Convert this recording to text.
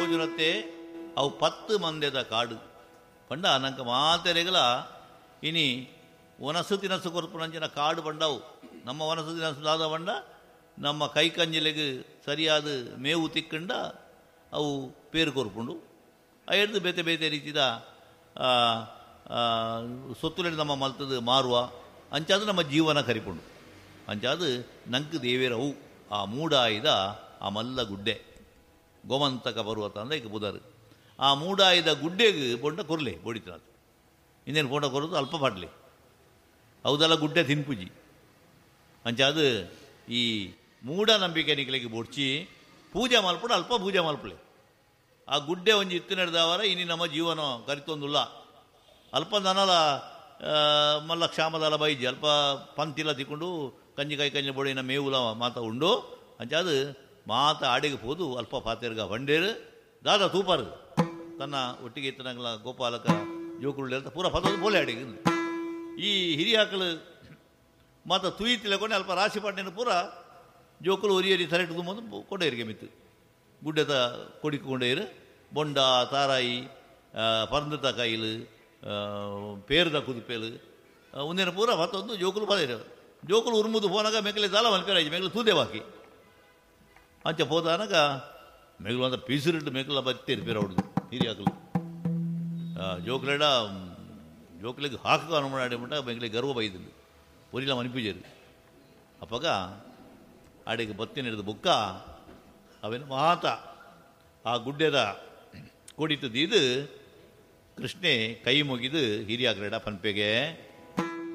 ತೋಜುನತ್ತೆ ಅವು 10 ಮಂದೆದ ಕಾಡು ಪಂಡ ನಂಕ ಮಾತೆರೆಗಲ ಇನಿ ವನಸು ತಿನಸು ಕೊರ್ಪುನಂಚಿನ ಕಾಡು ಪಂಡವು. ನಮ್ಮ ವನಸು ತಿನಸು ದಾದ ಪಂಡ ನಮ್ಮ ಕೈ ಕಂಜಿಲೆಗ್ ಸರಿಯಾದ ಮೇವು ತಿಕ್ಕಂಡ ಅವು ಪೇರು ಕೊರ್ಪುಂಡು. ಅಯ್ಯರ್ದು ಬೇತೆ ಬೇತೆ ರೀತಿದ ಸೊತ್ತುಲೆಡ್ ನಮ್ಮ ಮಲ್ತದು ಮಾರುವ ಅಂಚಾದ ನಮ್ಮ ಜೀವನ ಕರಿಪುಂಡು. ಅಂಚಾದ ನಂಕ್ ದೇವೇರವು ಆ ಮೂಡಾಯಿದ ಆ ಮಲ್ಲ ಗುಡ್ಡೆ ಗೋಮಂತಕ ಪರ್ವತ ಅಂದ ಈಗ ಬುದರು. ಆ ಮೂಡಾಯಿದ ಗುಡ್ಡೆಗೆ ಬೊಂಡ ಕೊರ್ಲೆ ಬೊಡಿತನಾಥ್ ಇನ್ನೇನು ಪೋಂಡ ಕೊರದು ಅಲ್ಪ ಪಾಡ್ಲೆ ಹೌದಲ್ಲ ಗುಡ್ಡೆ ತಿನ್ಪುಜಿ. ಅಂಚಾದ ಈ ಮೂಢನಂಬಿಕೆ ನಿಕ್ಲೆಗೆ ಬೊಡ್ಚಿ ಪೂಜೆ ಮಲ್ಪಡು ಅಲ್ಪ ಪೂಜೆ ಮಲ್ಪಲೆ. ಆ ಗುಡ್ಡೆ ಒಂಜಿ ಇತ್ತು ನಡೆದವರ ಇನಿ ನಮ್ಮ ಜೀವನ ಕರಿತೊಂದುಲ್ಲ. ಅಲ್ಪ ನನಲ ಮಲ್ಲ ಕ್ಷಾಮದಲ ಬೈಜಿ ಅಲ್ಪ ಪಂತಿಲ ತಿಕ್ಕೊಂಡು ಕಂಜಿ ಕಾಯಿ ಕಂಜಿ ಬೊಡಿನ ಮೇವುಲ ಮಾತ ಉಂಡು. ಅಂಚಾದ ಮಾತ ಆಡಿಗೆ ಪೋದು ಅಲ್ಪ ಪಾತೆರ್ಗ ಬಂಡೇರು ದಾದ ತೂಪಾರು ತನ್ನ ಒಟ್ಟಿಗೆ ಇತ್ತನಂಗಲ ಗೋಪಾಲಕ ಜೋಕುರುಳ್ಳಿ ಅಂತ ಪೂರ ಪದೋದು ಬೋಲೆ ಆಡಿಗೆ. ಈ ಹಿರಿಯಾಕಲು ಮಾತ ತುಯಿತಿಲಕೊಂಡು ಅಲ್ಪ ರಾಶಿ ಪಾಟಿನ ಪೂರ ಜೋಕುಲು ಒರಿಯರಿ ತಲೆಟು ತುಂಬ ಕೊಂಡೇರಿಗೆ ಮಿತ್ತು ಗುಡ್ಡೆತ ಕೊಡಿಕೊಂಡೇರು ಬೊಂಡ ತಾರಾಯಿ ಪರಂದತ ಕಾಯಿಲು ಪೇರ್ದ ಕುದುಪೇಲು ಒಂದಿನ ಪೂರ ಮತ್ತೊಂದು ಜೋಕುಲು ಪದೇರು ಜೋಕುಲು ಉರುಮುದು ಪೋನಾಗ ಮೆಕ್ಕಲೆ ದಾಲ ಮಲ್ಪೇರಾಜಿ ಮೆಕ್ಕಲು ತೂದೆ ಬಾಕಿ ಅಂಚ ಪೋದಾನಗ ಮೆಗಲು ಅಂತ ಪೀಸುರಿಟ್ಟು ಮೆಕ್ಕಲ ಬತ್ತೇರು ಪೇರ ಹೊಡೆದು ಹಿರಿಯಾಕಲು ಜೋಕುಲೆಡ ಜೋಕುಲಿಗೆ ಹಾಕು ಅನುಮಾಡಿ ಮೆಕ್ಕಲಿಗೆ ಗರ್ವ ಬೈದಿಲ್ಲ ಪೊರಿಲ ಮನಿಪೂಜರು. ಅಪ್ಪಗ ಆಡಿಗೆ ಬತ್ತಿ ಹಿಡಿದು ಬುಕ್ಕ ಅವೇನು ಮಾತ ಆ ಗುಡ್ಡೆದ ಕೊಡಿತು ದೀದು ಕೃಷ್ಣೆ ಕೈ ಮುಗಿದು ಹಿರಿಯಾಗ್ರೇಡ ಪನ್ಪೆಗೆ